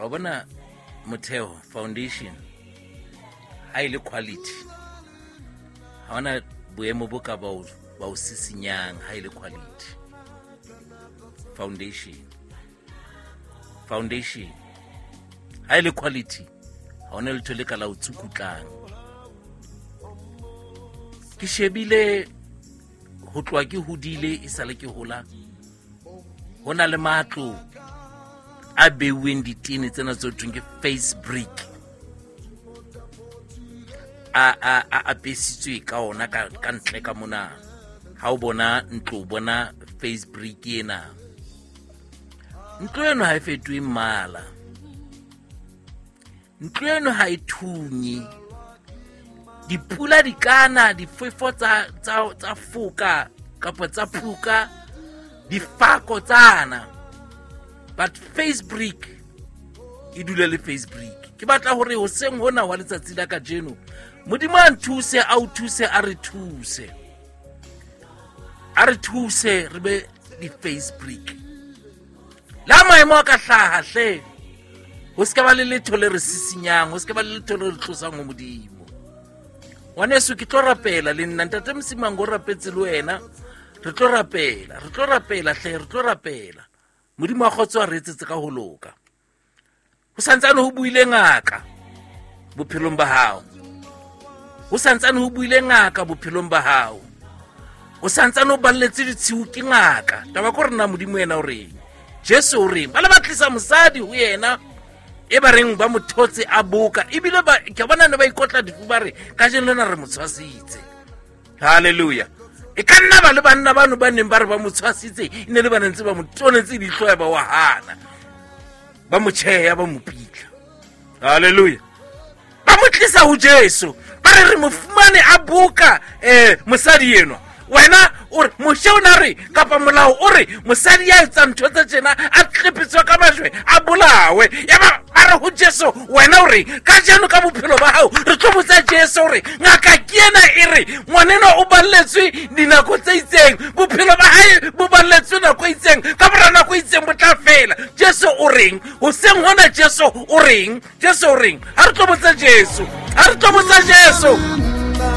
Wa bona motheo, foundation, ha e le quality, ha ona boemo bo ka ba o sisinyang ha e le quality. Foundation, foundation ha e le quality, ha ona letho le ka la o tsukutlang. Ke shebile ho tloha ke hodile, e sale ke hola, ho na le matlo a beuweng ditene tsena tse thweng ke face brick, a apesitswe ka ona ka ntle ka mona. Ha o bona ntlo, o bona face brick ena. Ntlo eno ha e fetohe mmala, ntlo eno ha e thunye, dipula di kana, difefo tsa foka kapa tsa phuka, difako tsana, but face brick e dule le face brick. Ke batla hore hoseng hona wa letsatsi la kajeno, Modimo a nthuse, a o thuse, a re thuse, a re thuse re be di-face brick. La maemo a ka hlaha hle, ho se ka ba le letho le re sisinyang, ho se ka ba le letho le re tlosang ho Modimo. Ngwaneso, ke tlo rapela le nna, ntate Mosimango o rapetse le wena, re tlo rapela, re tlo rapela hle, re tlo rapela. Modimo wa kgotso a re etsetse ka ho loka. Ho santsane ho buile ngaka bophelong ba hao, ho santsane ho buile ngaka bophelong ba hao, o santsane o balletse ditshiu ke ngaka. Taba ke hore na Modimo yena o reng, Jesu o reng. Ba le ba tlisa mosadi ho yena e ba reng ba mo thotse a boka, ebile ke bona ne ba ikotla difu, ba re kajeno lena re mo tshwasitse. Halleluja. E ka nna ba le banna bano ba neng ba re ba mo tshwasitse, e ne le ba ntse ba mo tonetse leihlo ya ba wa hana, ba mo tjheya, ba mo pitla. Halleluja. Ba mo tlisa ho Jesu, ba re re mo fumane a boka mosadi enwa. Wena o re Moshe o na re, kapa molao o re mosadi ya etsang ntho tse tjena a tlepetswe ka majwe a bolawe. Ya ba ba re ho Jesu, wena o re kajeno ka bophelo ba hao re tlo botsa Jesu hore ngaka ke ena e re ngwanenwa o balletswe dinako tse itseng, bophelo ba hae bo balletswe nako e itseng, ka mora nako e itseng bo tla fela. Jesu o reng hoseng hona? Jesu o reng? Jesu o reng? Ha re tlo botsa Jesu, ha re tlo botsa Jesu.